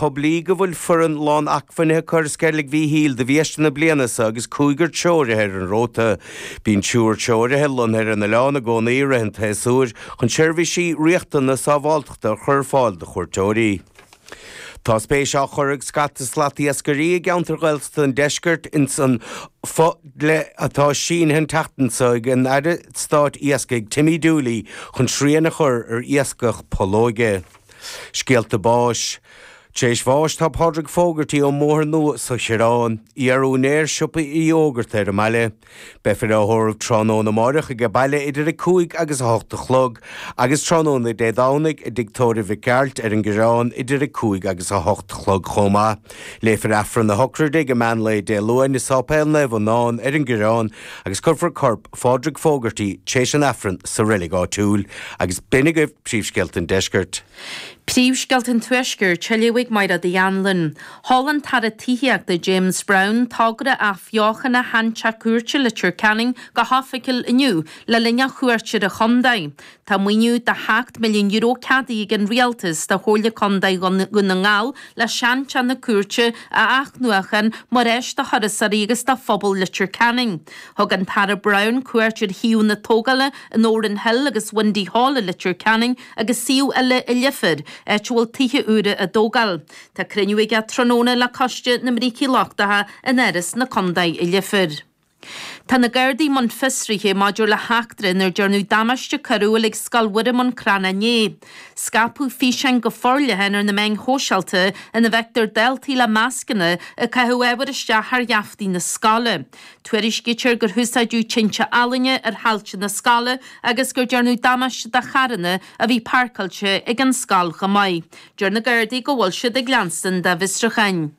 Poiblí go bhfuil foireann lán-acmhainne acu ar Sceilg Mhíchíl do bhFiesta na bliana seo agus cúigear treoraithe ar an róta. Bíonn triúr treoraithe lonnaithe ar an oileán i gcónaí i rith an tséasúir chun seirbhísí riachtanacha sábháilteachta a chur ar fáil do chuairteoirí. Tá spéis á chur ag scata slatiascairí i gceantair Ghaeltachta an deiscirt ins an fho-dhlí atá sínithe an tseachtain seo ag an Aire Stáit Iascaigh Timmy Dooley chun srian a chur ar iascach pollóige. Scéalta báis. Tar éis bháis tá Pádraig Fogarty ón mBóthar Nua sa Choireán. Iar-úinéir siopa Uí Fhógarta ar an mbaile. Beifear á thórramh tráthnóna amáireach aige baile idir 5 agus 8 a chlog agus tráthnóna Dé Domhnaigh i dtigh tórraimh Mhic Gearailt ar an gCoireán idir 5 agus 8 a chlog chomh maith. Léifear Aifreann na socraide ag meán lae Dé Luain i Sáipéal Naomh Adhamhnán ar an gCoireán agus cuirfear corp Phádraig Fogarty tréis an Aifrinn sa reilig áitiúil. Agus b'in agaibh príomhscéalta an deiscirt. Príomhscéalta an Tuaiscirt, á léamh ag Mairéad Uí Anluain. Sheol an tAire Tithíochta James Browne togra athbheochana Sheanteach Cúirte Leitir Ceanainn go hoifigiúil inniu le linn a chuairt ar an chontae. Tá maoiniú de €7 milliún ceadaithe ag an Rialtas do Chomhairle Contae Dhún na nGall le seanteach na cúirte a athnuachan mar áis do thurasóirí agus do phobal Leitir Ceanainn. Thug an tAire Browne cuairt ar shuíomhanna tógála in Órán Hill agus Windy Hall i Leitir Ceanainn agus suíomh eile i Leifear, áit a bhfuil tithe úra á dtógáil. Tá cruinniú aige tráthnóna le Coiste na mBrící Lochtacha in Áras na Contae i Leifear. Tá na Gardaí i mbun fiosraithe maidir le heachtra inar dearnadh damáiste coiriúil ag Scoil Mhuire Bhun Cranncha inné. Scaipeadh físeáin go forleathan ar na meáin shóisialta ina bhfeictear daltaí le mascanna ag caitheamh ábhair isteach thar gheaftaí na scoile. Tuairiscítear gur húsáideadh tinte ealaíne ar thailte na scoile agus gur dearnadh damáiste do charranna a bhí páirceáilte ag an scoil chomh maith. Deir na Gardaí go bhfuil siad ag leanstan dá bhfiosrúcháin.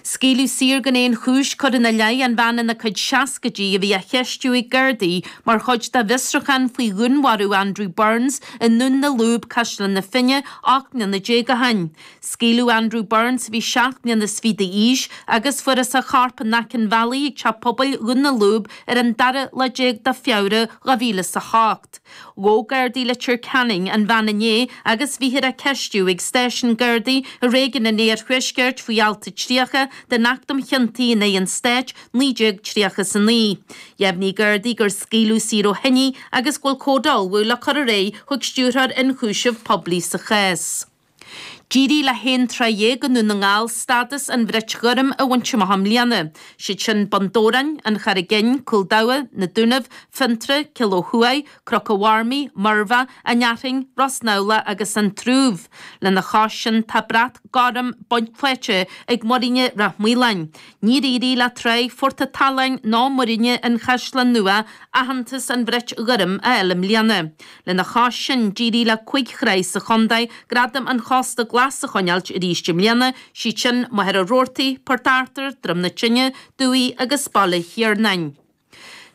Scaoileadh saor gan aon chúis curtha ina leith an bhean ina cuid seascaidí a bhí á cheistiú ag Gardaí mar chuid de bhfiosrúchán faoi dhúnmharú Andrew Burns i nDún na Lúb, Caisleán na Finne, 18 mbliana ó shin. Scaoileadh Andrew Burns a bhí seacht mbliana is fiche d'aois agus fuarthas a chorp in aice an bhealaigh ag teach pobail Dhún na Lúb ar an dara lá déag de Feabhra 2008. Ghabh Gardaí Leitir Ceanainn an bhean inné agus bhíthear á ceistiú ag stáisiún Gardaí i réigiún an Iarthuaiscirt faoi alt 30 den Acht um Chiontaí in aghaidh an Stáit, 1939. Dheimhnigh Gardaí gur scaoileadh saor ó shin í agus go bhfuil comhad á ullmhú le cur ar aghaidh chuig Stiúrthóir Ionchúiseamh Poiblí sa chás. D'éirigh le haon trá dhéag i nDún na nGall stádas an Bhrait Ghoirm a bhaint amach i mbliana. Siad sin Bun Dobhráin, An Charraig Fhinn, Cúl Dabha, Na Dúnaibh, Fionntrá, Cill Ó Thuaidh, Cnoc an Mharmaí, Muirbheach, An Fhearthainn, Ros nAbhla agus An Trúbh. Lena chois sin tá brat gorm faighte ag Muiríne Ráth Maoláin. Níor éirigh le tráigh Phort a' tSaláin ná Muiríne an Chaisleáin Nua aitheantas an Bhrait Ghoirm a fháil i mbliana. Lena chois sin, d'éirigh le cuig thráigh sa chontae gradam an Chósta Glas a choinneáilt arís i mbliana, siad sin Machaire Rabhartaigh, Port Arthur, Droim na Tine, Dumhaigh agus Baile Thiarnáin.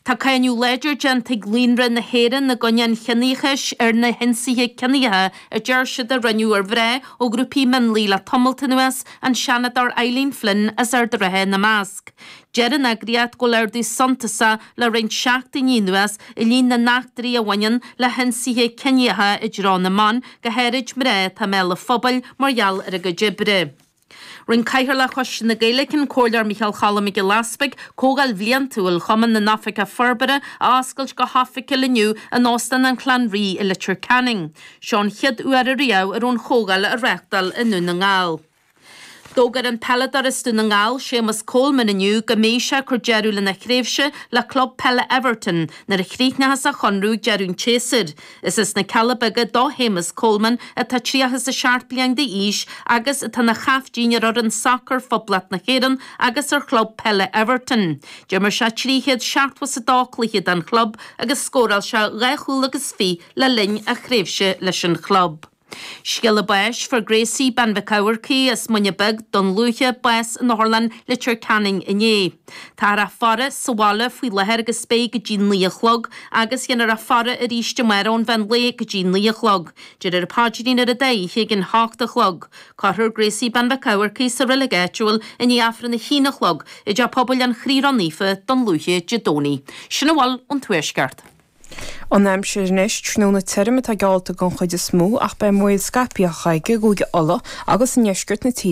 Tá cáineadh láidir déanta ag Líonra na hÉireann i gcoinne an chiníochais ar na hionsaithe ciníocha a deir siad a rinneadh ar mhná ó ghrúpaí mionlaigh le tamalt anuas, an Seanadóir Eileen Flynn as Ard an Rátha ina measc. Deir an eagraíocht go bhfuil ardú suntasach le roinnt seachtainí anuas i líon na n-eachtraí a bhaineann le hionsaithe ciníocha i dtreo na mban, go háirid mná atá i mbéal an phobail mar gheall ar a gcuid oibre. Rinne Cathaoirleach Choiste na Gaeilge, an Comhairleoir Micheál Cholm Mac Giolla Easpaig, Comhdháil Bhliantúil Chumann na nOifigeach Forbartha a oscailt go hoifigiúil inniu in Óstán an Chlann Rí i Leitir Ceanainn. Seo an chéad uair ariamh a raibh an chomhdháil á reáchtáil i nDún na nGall. D'fhógair an peileadóir as Dún na nGall, Séamus Coleman inniu go mbeidh sé ag cur deireadh lena thréimhse le club peile Everton nuair a chríochnóchas a chonradh ag deireadh an tséasúir. Is as na Cealla Beaga do Shéamus Coleman atá 37 bliain d'aois agus atá ina chaiftín ar fhoireann sacair Phoblacht na hÉireann agus ar chlub peile Everton. D'imir sé 372 cluiche don chlub agus scóráil sé dhá chúl agus fiche le linn a thréimhse leis an chlub. Scéala báis, Fuair Gracie, Bean Mhic Eamharcaigh as Muine Bheag, Dún Lúiche, bás in Otharlann Leitir Ceanainn inné. Táthar á faire sa bhaile faoi láthair agus beidh go dtí 9 a chlog agus dhéanfar a faire arís amárach ón mheán lae go dtí 9 a chlog. Déarfar an paidrín ar an dá oíche ag an hocht a chlog. Cuirfear Gracie Bean Mhic Eamharcaigh sa reilig áitiúil i ndiaidh Aifreann a haon a chlog i dTeach Pobail an Chroí Ró-Naofa, Dún Lúiche, Dé Domhnaigh. Sin a bhfuil ón Tuaisceart. An aimsir anois, tráthnóna tirim atá geallta den chuid is mó ach beidh an baol scaipthe chuige i gCúige Uladh agus i ndeisceart na tíre.